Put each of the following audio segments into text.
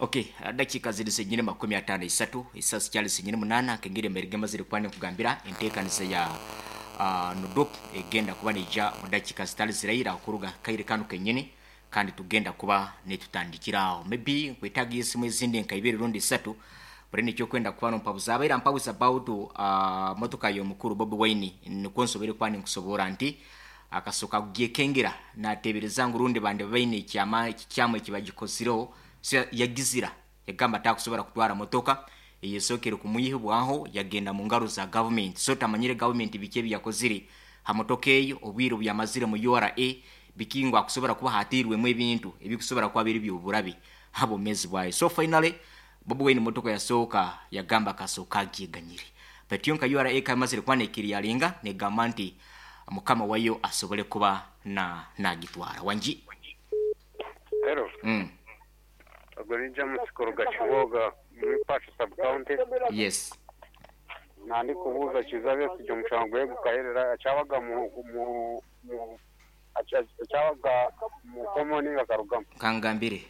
Okay, dakiika ziri zenyine 53, esaaha zikyali zenyine 8 nk'engeri embeera emazire kuba nenkugambira enteekaniza ya NUDOP egenda kuba neija omu dakiika zitari ziraira kuruga kaire kanu kenyini kandi tugenda kuba nitutandikira aho. Maybe nkwetaaga esimu ezindi nka ibiri rundi isatu buri nikyo okwenda kuba nompabuza. Abaire ampabuza about motoka y'omukuru Bobi Wine nikwo nsoboire kuba ninkusoboora nti akasoka kugyekengera nateebereza ngu rundi bandi baine ekyama ekikyamu ekibagikozireho so yagizira yagamba takusobora kutwara motoka eyesookere kumwihibwaho yagenda mu ngaro za gavumenti so tamanyire gavumenti biki ebiyakozire ha motoka eyo obwire obuyamazire mu URA biki ngu akusobora kuba hateirwemu ebintu ebikusobora kuba biri byoburabe ha bwomezi bwayo so finally Bobi Wine motoka yasooka yagamba akasooka agyeganyire but yo nka URA ekaba emazire kuba nekiriyaringa negamba nti mukama wayo asobole kuba na nagitwara. Wangi? Hello. Ogwo ni James kuruga Kiboga omuri Pacho sub county. Yes. Nandikubuuza Kiiza Besigye omushango gwe gukaherera akyabaga mu mu mu akyabaga mu komo ninga akarugamu? Kangambire.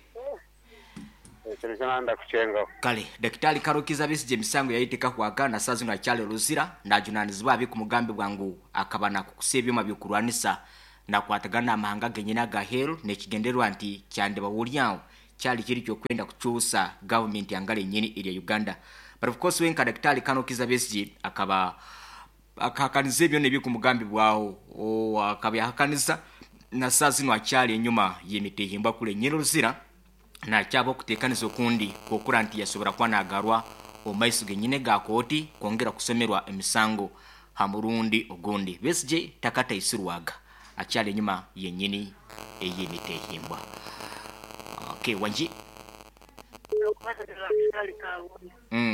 Ekyo nikyo nanda kukyengaho. Kale, Dakitari Karol Kiiza Besigye emisango yaye tekahwaga na saaha zinu akyali Luzira najunanizibwa aha bikumugambibwa ngu akaba nakukusa ebyoma by'okurwanisa nakwatagana n'amahanga genyini aga heeru n'ekigendererwa nti kyandiba oryaho kyali kiri ky'okwenda kukyusa gavumenti yangara enyini erya Uganda. But of course we nka Dakitari Karol Kiiza Besigye akaba akahakaniza ebyona ebikumugambibwaho akaba yahakaniza na saaha zinu akyali enyuma y'emitehimbwa kule enyini Luzira nakyaba okutekaniza okundi kwokura nti yasobora kuba nagarwa omu maiso genyine ga kooti kwongera kusomerwa emisango ha murundi ogundi. Besigye takataisirwaga akyali enyuma yenyini ey'emitehimbwa. Okay, wangi?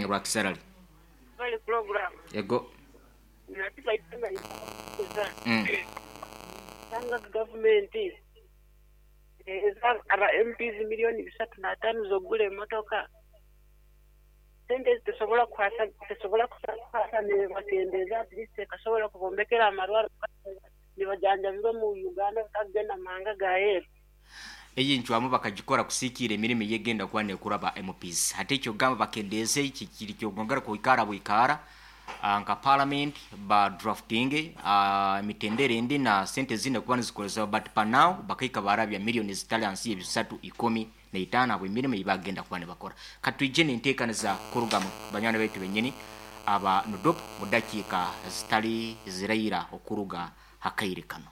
Rwakisarali. Ego. Eza aba MPs milioni 305 z'okugura emotoka, sente ezi tesobola kukwasa tesobola kukwasa nebakendeeza at least ekasobola kubombekera amarwaro nibajanjabirwa omu Uganda batakugenda mu mahanga ga aheeru. Eyo encwamu bakagikora kusikiira emirimo eyegenda kuba nekora ba MPs. Hati ekyokugamba bakendeeze kiri ky'okwongera kwikara bwikara nka parliament ba draftinge emitendera endi na sente ezindi kuba nizikozesebwa but per now bakahika barabya million ezitali hansi y'ebisatu 15 ahabw'emirimo ei bagenda kuba nibakora. Katwije n'enteekaniza kuruga mu banywani baitu benyini aba NUDOP mu dakiika zitali ziraira okuruga ha kaire kanu.